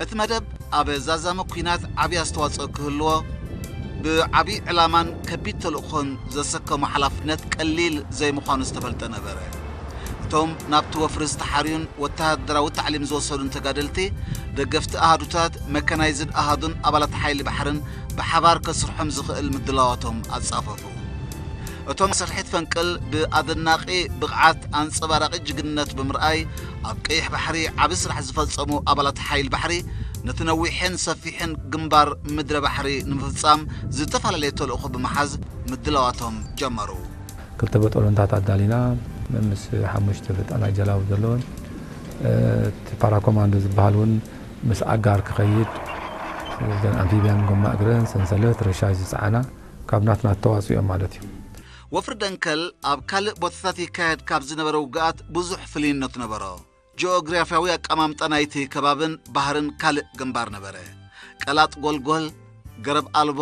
እቲ መደብ ኣብ ዛዛሚ ኲናት ዓብዪ ኣስተዋጽኦ ክህልዎ፣ ብዓብዪ ዕላማን ከቢድ ተልእኾን ዘሰከሞ ሓላፍነት ቀሊል ዘይምዃኑ ዝተፈልጠ ነበረ። እቶም ናብቲ ወፍሪ ዝተሓርዩን ወተሃደራዊ ታዕሊም ዝወሰዱን ተጋደልቲ፣ ደገፍቲ ኣሃዱታት፣ መካናይዝድ ኣሃዱን ኣባላት ሓይሊ ባሕርን ብሓባር ከስርሖም ዝኽእል ምድላዋቶም ኣጻፈፉ። እቶም ስርሒት ፈንቅል ብኣደናቒ ብቕዓት ኣንጸባራቒ ጅግንነት ብምርኣይ፣ ኣብ ቀይሕ ባሕሪ ዓቢ ስራሕ ዝፈጸሙ ኣባላት ሓይል ባሕሪ፣ ነቲ ነዊሕን ሰፊሕን ግንባር ምድረ ባሕሪ ንምፍጻም ዝተፈላለየ ተልእኾ ብምሓዝ ምድላዋቶም ጀመሩ። ክልተ በጦሎንታት ኣዳሊና፣ ምስ ሓሙሽተ በጣናይ ጀላቡ ዘለወን፣ እቲ ፓራኮማንዶ ዝበሃል እውን ምስ ኣጋር ክኸይድ፣ እዘን ኣምፊብያን ጎማ እግረን፣ ሰንሰለት፣ ረሻሽ ዝጸዓና ካብ ናትና ተዋጽኦ እዮም ማለት እዩ። ወፍሪ ደንከል ኣብ ካልእ ቦታታት ይካየድ ካብ ዝነበረ ውግኣት ብዙሕ ፍልይነት ነበሮ። ጂኦግራፍያዊ ኣቀማምጣ ናይቲ ከባብን ባህርን ካልእ ግንባር ነበረ። ቀላጥ ጎልጎል፣ ገረብ ኣልቦ፣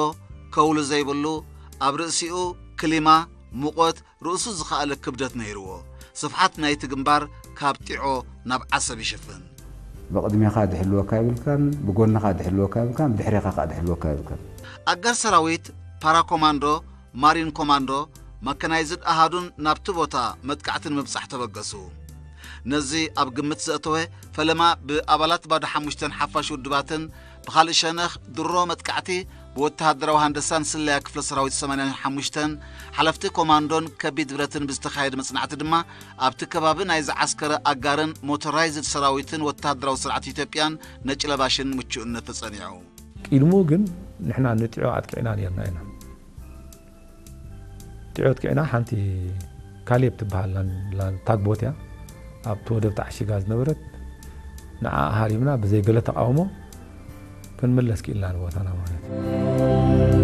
ከውሊ ዘይብሉ፣ ኣብ ርእሲኡ ክሊማ፣ ሙቐት፣ ርእሱ ዝኸኣለ ክብደት ነይርዎ። ስፍሓት ናይቲ ግንባር ካብ ጢዖ ናብ ዓሰብ ይሽፍን። ብቕድሜኻ ድሕልወካ ይብልካን፣ ብጎንኻ ድሕልወካ ይብልካን፣ ብድሕሬኻ ከኣ ድሕልወካ ይብልካን። ኣጋር ሰራዊት፣ ፓራኮማንዶ፣ ማሪን ኮማንዶ፣ መካናይዝድ ኣሃዱን ናብቲ ቦታ መጥቃዕቲ ንምብጻሕ ተበገሱ። ነዚ ኣብ ግምት ዘእተወ፣ ፈለማ ብኣባላት ባዶ ሓሙሽተን ሓፋሽ ውድባትን ብኻልእ ሸነኽ ድሮ መጥቃዕቲ ብወተሃደራዊ ሃንደሳን ስለያ ክፍለ ሰራዊት ሰማንያን ሓሙሽተን ሓለፍቲ ኮማንዶን ከቢድ ብረትን ብዝተኻየደ መጽናዕቲ ድማ ኣብቲ ከባቢ ናይ ዝዓስከረ ኣጋርን ሞቶራይዝድ ሰራዊትን ወተሃደራዊ ስርዓት ኢትዮጵያን ነጭ ለባሽን ምቹእነት ተጸኒዑ። ቅድሙ ግን ንሕና ንጢዖ ኣጥቂዕና ነርና ኢና። ጢዖ ኣጥቂዕና ሓንቲ ካሌብ ትበሃል ላን-፣ ላን-፣ ታግቦት እያ ኣብቲ ወደብ ተዓሺጋ ዝነበረት። ንዓ ሃሪምና ብዘይ ገለ ተቃውሞ ክንምለስ ክኢልና ንቦታና ማለት እዩ።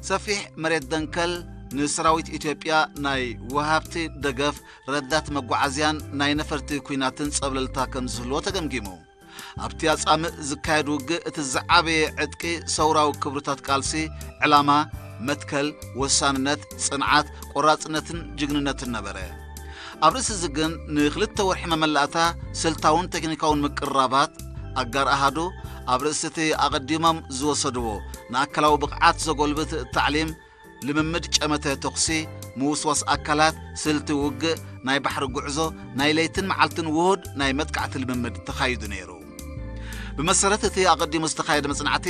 ሰፊሕ መሬት ደንከል ንሰራዊት ኢትዮጵያ ናይ ወሃብቲ ደገፍ፣ ረዳት መጓዓዝያን ናይ ነፈርቲ ኲናትን ጸብለልታ ከም ዝህልዎ ተገምጊሙ። ኣብቲ ኣጻምእ ዝካየድ ውግእ እቲ ዝዓበየ ዕጥቂ ሰውራዊ ክብርታት ቃልሲ፣ ዕላማ፣ መትከል፣ ወሳንነት፣ ጽንዓት፣ ቆራጽነትን ጅግንነትን ነበረ። ኣብ ርእሲ እዚ ግን ንኽልተ ወርሒ መመላእታ ስልታውን ቴክኒካውን ምቅርራባት ኣጋር ኣሃዱ ኣብ ርእሲ እቲ ኣቐዲሞም ዝወሰድዎ ንኣካላዊ ብቕዓት ዘጎልብት ታዕሊም ልምምድ ጨመተ ተኹሲ፣ ምውስዋስ ኣካላት፣ ስልቲ ውግእ፣ ናይ ባሕሪ ጉዕዞ፣ ናይ ለይትን መዓልትን ውሁድ ናይ መጥቃዕቲ ልምምድ ተኻይዱ ነይሩ። ብመሰረት እቲ ኣቐዲሙ ዝተኻየደ መጽናዕቲ፣